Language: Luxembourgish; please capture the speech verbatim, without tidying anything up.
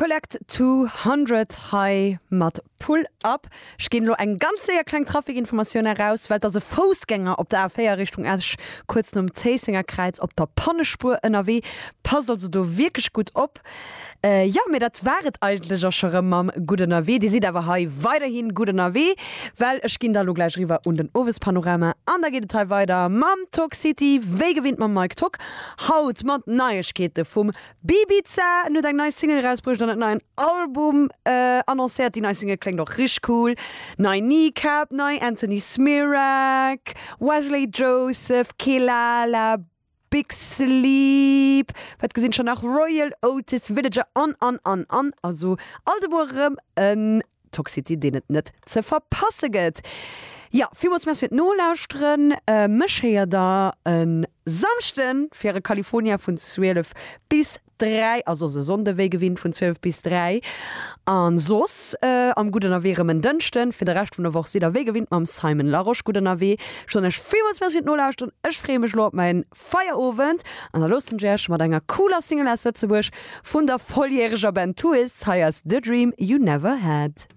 Collect two hundred hei mat Pull Up. Ech ginn elo eng ganz séier kleng Trafikinformatioun eraus, well et ass e Foussgänger op der A véier Richtung Esch kuerz nom Zéissenger Kräiz op der Pannespuer ënnerwee. Passt also do wierklech gutt op. Jo, mee dat war et eigentlech och scho rëm mam Gutt Ënnerwee. Dir sidd awer hei weiderhi gutt ënnerwee, well ech ginn da lo gläich eriwwer un den Owespanorama an da geet et hei weider mam Talk City, wéi gewinnt mam Mike Tock. Haut mat Neiegkeete vum Bibiza, en huet eng nei Single erausbruecht an en neien Album annoncéiert. Déi nei Single kléngt och richteg cool. Nei Kneecap, nei Anthony Smirak, Wesley Joseph, Kehlala, Big Sleep, wat gesinn ech nach, Royel Otis, Villager an an an an. Also alt emol erëm en Toxity, deen et net ze verpasse gëtt. Jo, villmools Merci fir d'Nolauschteren. Mech héiert der e Samschden fir e California vun zwielef bis dräi, a soss e Sonnde wéi gewinnt vun zwielef bis dräi. An soss am Gutt Ënnerwee erëm en Dënschden. Fir de Rescht vun der Woch sidd der wéi gewinnt mam Simon Larosche gutt ënnerwee. Ech soen iech villmools Merci fir d'Nolauschteren. Ech freeë mech elo op mäin Feierowend an da loossen ech iech mat enger cooler Single aus Lëtzebuerg vun der volljäreger Band Toois. Hei ass The Dream You Never Had.